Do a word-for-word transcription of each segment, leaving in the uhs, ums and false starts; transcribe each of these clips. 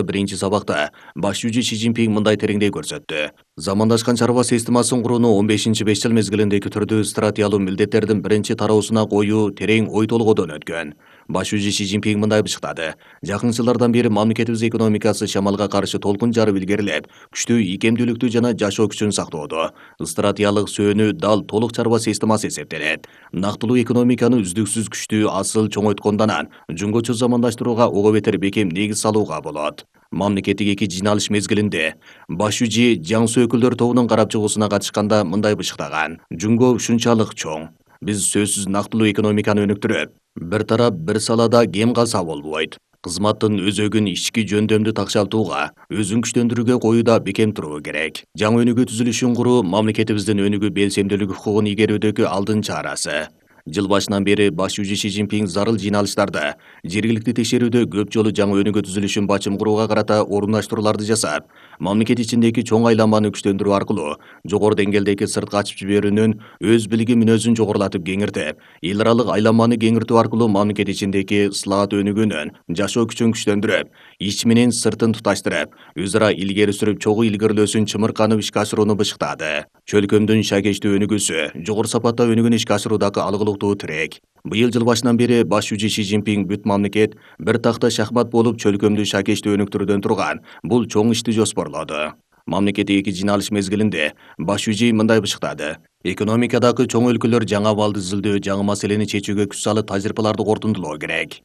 Биринчи сабакта баш жүзү Си Цзиньпин мындай тереңдей көрсөттү. Замандашкан чарба системасын курууну он бешинчи беш жыл мезгилиндеги түрдүү стратегиялуу милдеттердин биринчи тароосуна коюу терең ой толгоодон өткөн. Баш жүзү Си Цзиньпин мындай бышыктады. Жакын жылдардан бери мамлекетибиз экономикасы шамалга каршы толкун жарып илгерилеп, күчтүү ийкемдүүлүктү жана жашоо күчүн сактоодо. Стратегиялык сөөнү дал толук чарба системасы эсептелет. Нактылуу экономиканы үздүксүз күчтүү асыл чоңойткондан анан жөнгөчө замандаштырууга ого бетер бекем негиз салууга болот. Мамлекеттик эки жыйналыш мезгилинде баш жүзү жаңсы өкүлдөр тобунун карап чыгуусуна катышканда мындай бышыктаган. Жүнгө ушунчалык чоң. Биз сөзсүз нактылуу экономиканы өнүктүрөп, бир тарап бир салада кем калса болбойт. Кызматтын өзөгүн ички жөндөмдү такшалтууга, өзүн күчтөндүрүүгө коюуда бекем туруу керек. Жаңы өнүгүү түзүлүшүн куруу мамлекетибиздин өнүгүү белсемдүүлүк укугун игерүүдөгү алдынча арасы. Жыл башынан бери баш жүзү Си Цзиньпин зарыл жыйналыштарда жергиликтүү текшерүүдө көп жолу жаңы өнүгүү түзүлүшүн бачым курууга карата орундаштырууларды жасап, мамлекет ичиндеги чоң айланманы күчтөндүрүү аркылуу жогору деңгээлдеги сыртка ачып жиберүүнүн өз билиги мүнөзүн жогорулатып кеңиртип, эл аралык айланманы кеңиртүү аркылуу мамлекет ичиндеги ыслагат өнүгүүнүн жашоо күчүн күчтөндүрүп, ич менен сыртын туташтырып, өз ара илгери сүрүп чогуу илгерилөөсүн чымырканып ишке ашырууну бышыктады. Чөлкөмдүн шакечтүү өнүгүүсү жогору сапатта өнүгүүнү ишке ашыруудагы алгылыктуу тирек. Быйыл жыл башынан бери баш жүзү Си Цзиньпин бүт мамлекет бир такта шахмат болуп чөлкөмдү шакечтүү өнүктүрүүдөн турган бул чоң ишти жоспорлоду. Мамлекеттик эки жыйналыш мезгилинде баш жүзү мындай бышыктады. Экономикадагы чоң өлкөлөр жаңы абалды изилдөө, жаңы маселени чечүүгө күч салып тажрыйбаларды кортундулоо керек.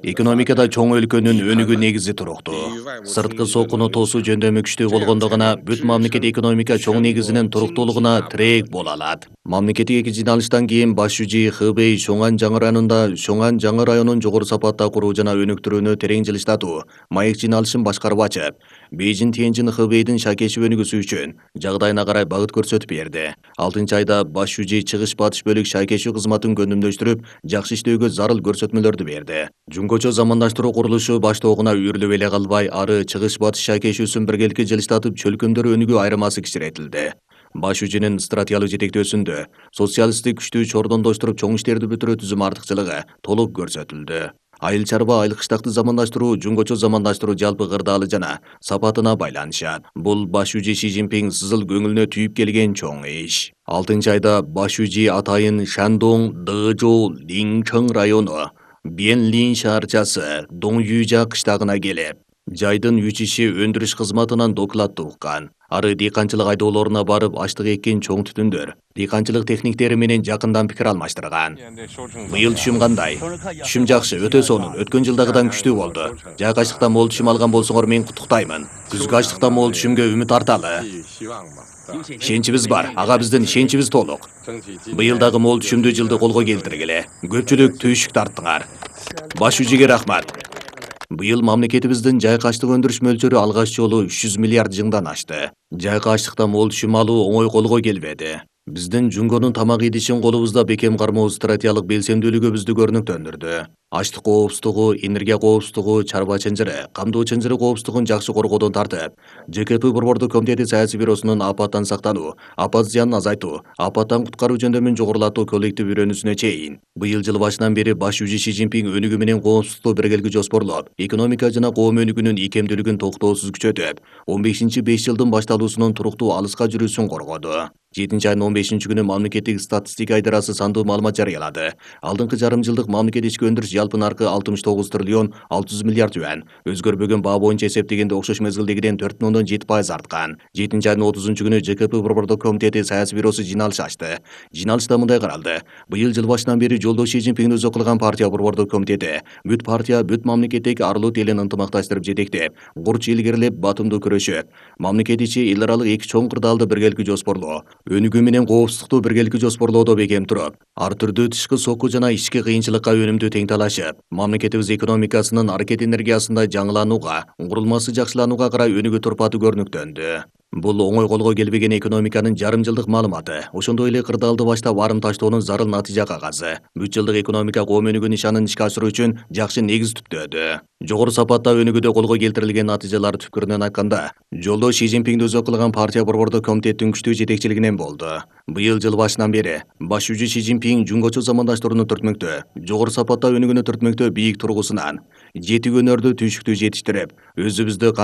Экономикада чоң өлкөнүн өнүгүү негизи туруктуу. Сырткы соккуну тосуу жөндөмү күчтүү болгондо гана бүт мамлекет экономика чоң негизинин туруктуулугуна тирек боло алат. Мамлекеттик эки жыйналыштан кийин баш жүзү Хэбэй Шоңан жаңы районунда Шоңан жаңы районун жогору сапатта куруу жана өнүктүрүүнү терең жылыштатуу маек жыйналышын башкарып ачып, Бейжин Тяньжин Хэбэйдин шакечи өнүгүүсү үчүн жагдайына карай багыт көрсөтүп берди. алтынчы айда баш жүзү чыгыш батыш бөлүк шакечи кызматын көнүмдөштүрүп, жакшы иштөөгө зарыл көрсөтмөлөрдү берди. Жөнгөчө замандаштыруу курулушу баштоогуна үйрүлүп эле калбай, ары чыгыш батыш шакечүүсүн биргеликке жылыштатып, чөлкөмдөр өнүгүү айырмасы кичиретилди. Баш жүзүнүн стратегиялык жетектөөсүндө социалисттик күчтүү чордондоштуруп чоң иштерди бүтүрүү түзүм артыкчылыгы толук көрсөтүлдү. Айыл чарба, айыл кыштакты замандаштыруу жөнгөчө замандаштыруу жалпы кырдаалы жана сапатына байланышат. Бул баш жүзү Си Цзиньпин сызыл көңүлүнө түйүп келген чоң иш. алтынчы айда баш жүзү Атайын Шандong Дэжоу Линчэн району Бенлин шаарчасы Доңюжа кыштагына келип, жайдын үчиши өндүрүш кызматынан докладты уккан. Ары дыйканчылык айдоолоруна барып, аштык эккен чоң түтүндөр, дыйканчылык техниктери менен жакындан пикир алмаштырган. Быйыл түшүм кандай? Түшүм жакшы, өтө сонун, өткөн жылдагыдан күчтүү болду. Жайкы ачлыктан мол түшүм алган болсоңор мен куттуктаймын. Күзгү ачлыктан мол түшүмгө үмүт арталы. Ишеничибиз бар, ага биздин ишеничибиз толук. Быйыл дагы мол түшүмдүү жылды колго келтиргиле. Көпчүлүк түйшүк тарттыңар. Баш жүзүгө рахмат. Быйыл мамлекетибиздин жайкы ачлык өндүрүш мөлчөрү алгач жолу үч жүз миллиард жыңдан ашты. Жайкы ачлыктан мол түшүм алуу оңой колго келбеди. Биздин Жүнгөнүн тамак идишин колубузда бекем кармоо стратегиялык белсемдүүлүгүбүздү көрүнүктөндүрдү. Ачлык коопсуздугу, энергия коопсуздугу, чарба чынжыры, камдоо чынжыры коопсуздугун жакшы коргоодон тартып, Ж К П Борбордук комитети саясий бюросунун апаттан сактануу, апат зыянын азайтуу, апаттан куткаруу жөндөмүн жогорулатуу коллектив үйрөнүүсүнө чейин быйыл жыл башынан бери баш жүзү Си Цзиньпин өнүгүү менен коопсуздукту биргеликте жоспорлоп, экономика жана коом өнүгүүнүн ийкемдүүлүгүн токтоосуз күчөтүп, он бешинчи беш жылдын башталуусунун туруктуу алыска жүрүүсүн коргоду. жетинчи айдын он бешинчи күнү мамлекеттик статистика идарасы сандуу маалымат жарыялады. Алдыңкы жарым жылдык мамлекет ички өндүрүш жалпы наркы алтымыш тогуз триллион алты жүз миллиард юань, өзгөрбөгөн баа боюнча эсептегенде окшош мезгилдегиден төрт бүтүн ондон жети пайыз арткан. жетинчи айдын отузунчу күнү Ж К П Борбордук комитети саясий бюросу жыйналыш ачты. Жыйналышта мындай каралды. Быйыл жыл башынан бери жолдош Си Цзиньпин өзү кылган партия Борбордук комитети бүт партия, бүт мамлекеттеги арлуу элин ынтымакташтырып жетектеп, курч илгерилеп, батымдуу күрөшөп, мамлекет ичи эл аралык эки чоң кырдаалды биргеликте жоспорлоо, өнүгүү менен коопсуздукту биргеликте жоспорлоодо бекем туруп, ар түрдүү тышкы сокку жана ички кыйынчылыкка өнүмдүү тең талашып, мамлекетибиз экономикасынын аракет энергиясында жаңыланууга, курулмасы жакшыланууга карай өнүгүү турпаты көрүнүктөндү. Бул оңой колго келбеген экономиканын жарым жылдык маалыматы, ошондой эле кырдаалды баштап арым таштоонун зарыл натыйжа кагазы. Бүт жылдык экономика коом өнүгүү нишанын ишке ашыруу үчүн жакшы негиз түптөөдү. Жогору сапатта өнүгүүдө колго келтирилген натыйжалар түпкүрүнөн айтканда, жолдош Си Цзиньпинди өзү кылган партия Борбордук комитеттин күчтүү жетекчилигинен болду. Быйыл жыл башынан бери баш жүзү Си Цзиньпин жөнгөчө замандаштырууну түртмөктө, жогору сапатта өнүгүүнү түртмөктө бийик тургусунан жети өнөрдү түйшүктүү жетиштирип, өзүбүздү